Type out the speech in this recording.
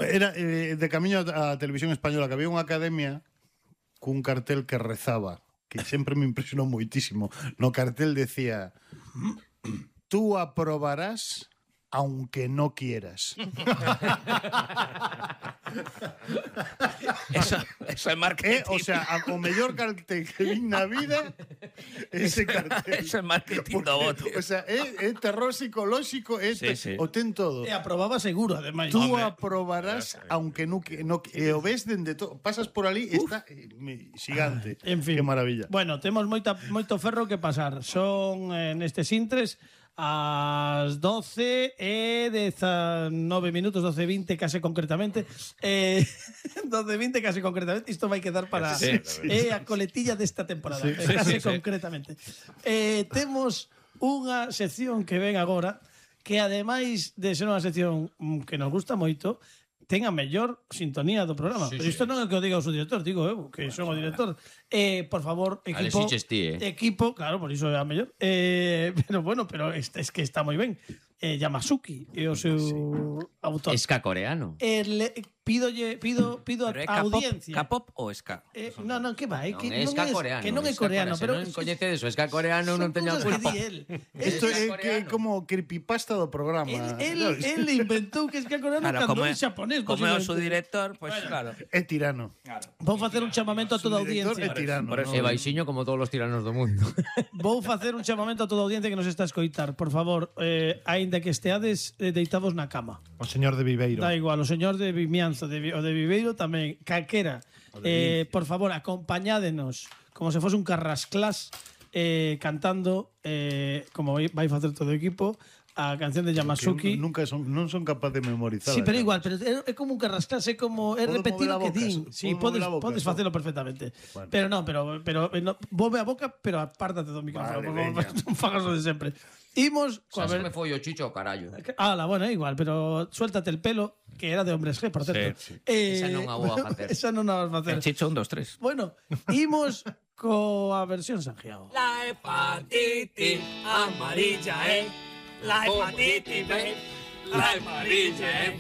Era de camiño a Televisión Española, que había unha academia cun cartel que rezaba, que sempre me impresionou moitísimo. No cartel decía: tú aprobarás aunque no quieras. Eso é marketing. O sea, o mellor cartel que vi na vida ese cartel. Eso é marketing do voto. O sea, é terror psicolóxico, Sí. o ten todo. E aprobaba seguro, ademais. Tú aprobarás aunque no e o ves dende todo. Pasas por ali, está xigante. En fin. Que maravilla. Bueno, temos moito ferro que pasar. Son nestes intres ás 12 e 19 minutos, 12:20 case concretamente. 12:20 case concretamente. Isto vai quedar para a coletilla desta temporada. Case concretamente. Temos unha sección que ven agora que ademais de ser unha sección que nos gusta moito, ten a mellor sintonía do programa. Pero isto non é que o diga o seu director, digo eu, que son o director. Por favor, equipo... Equipo, claro, por iso é a mellor. Pero bueno, pero é que está moi ben. Yamasuki é o seu autor. Ska coreano. Pido a audiencia. K-pop ou ska? Non, que vai, que non é ska coreano. Que non é coreano, pero non coñecedes o ska coreano, non teño culpa. Isto é como creepypasta do programa. El inventou que es que coreano cando é xaponés. Como é o seu director, pois claro. É tirano. Vou facer un chamamento a toda a audiencia. É tirano. É baixiño como todos os tiranos do mundo. Vou facer un chamamento a toda a audiencia que nos está a escoitar. Por favor, aínda que esteades deitados na cama. O señor de Viveiro. Da igual, o señor de Vimianzo, o de Viveiro tamén, calquera. Por favor, acompañádenos como se fose un carrasclás cantando, como vai facer todo o equipo, a canción de Yamasuki. Non son capaz de memorizar. Sí, pero igual, pero é como un carrasclás, é como é repetir o que din. Sí, podes facelo perfectamente. Bueno. Pero non, pero volve a boca, pero apártate do micrófono, por favor, non fagas o de sempre. Imos coa ver. Me foi o chicho o carallo. Bueno, igual, pero suéltate el pelo, que era de hombres G, por certo. Sí. Esa non a vou a facer. Esa non a vas a facer. El chicho 1, 2, 3. Bueno, imos coa versión Sanjiao. La hepatitis amarilla, la hepatitis B, la amarilla,